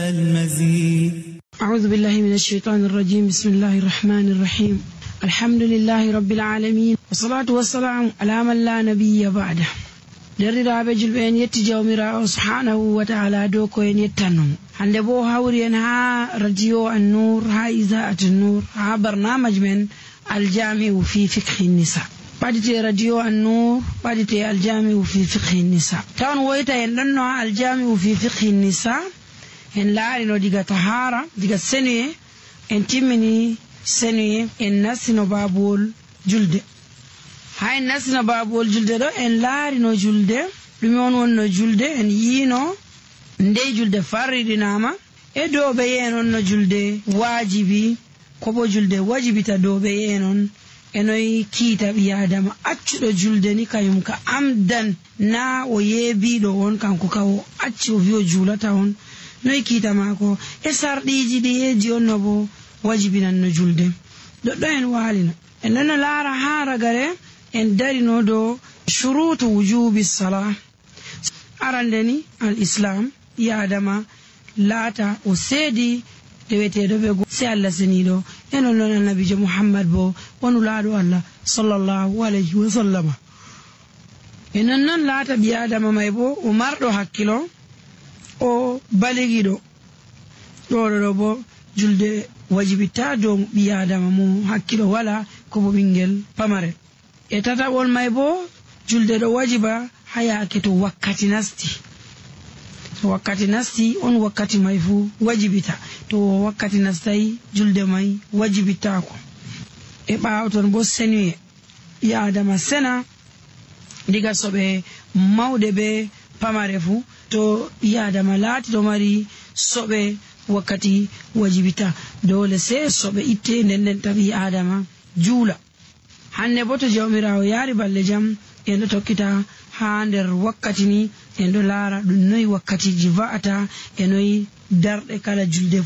المزيد. أعوذ بالله من الشيطان الرجيم. بسم الله الرحمن الرحيم. الحمد لله رب العالمين، والصلاة والسلام على من لا نبي بعده. derdiraaɓe julɓe en yetti jawmirawo subhanahu wa ta'ala dow ko en yettannomo. hande bo hawri en ha radio an-nur, ha isaat an-nur, ha barnamaj men aljami'u fi fiqhi nisa. ɓadite radio an-nur, ɓadite aljami'u fi fiqhi nisa. tawan woyta en ɗonno ha aljami'u fi fiqhi nisa en laarino diga tahara, diga senuye, en timmini senuye, en nastino babuwol julde. ha en nastino babuwol julde ɗo en laarino julde, ɗume on wonno julde, en yiino ndey julde farriɗinama e dow ɓe yen on no julde wajibi, ko bo julde wajibita dow ɓe yen on. enoyi kiita ɓi adama accuɗo julde ni kayum ka amdan na o yeebiɗo on, kanko ka o acci o wi o julata on. noyi kiita maako e sarɗiji ɗi heeji on no bo wajibinan no julde. ɗoɗɗo en waalino en ɗonno laara ha ragare en darino dow shurutu wujubi salah. arande ni al islam ɓi adama laata o seedi deweteɗo ɓe go se Allah seniɗo enon noon annabijo Muhammad bo wonu laaɗo Allah sallallahu alayhi wa sallama. e non laata ɓi adama may bo o marɗo hakkilo, o baligiɗo. ɗo bo julde wajibitta dow ɓi adama mo hakkilo wala, ko bo ɓinguel pamarel. e tataɓol may bo julde ɗo wajiba ha yaake to wakkati nasti. to wakkati nasti on wakkati may fu wajibita, to wakkati nastayi julde may wajibittako. e ɓawo ton bo senuye ɓi adama sena diga soɓe mawɗe be pamare fu. to ɓi adama laati ɗo mari soɓe wakkati wajibita, dole se soɓe itte nden ta ɓi adama juula. hande bo to jawmirawo yaari balle jam en ɗo tokkita ha nder wakkati ni en ɗo laara ɗum noyi wakkatiji va'ata, e noyi darɗe kala julde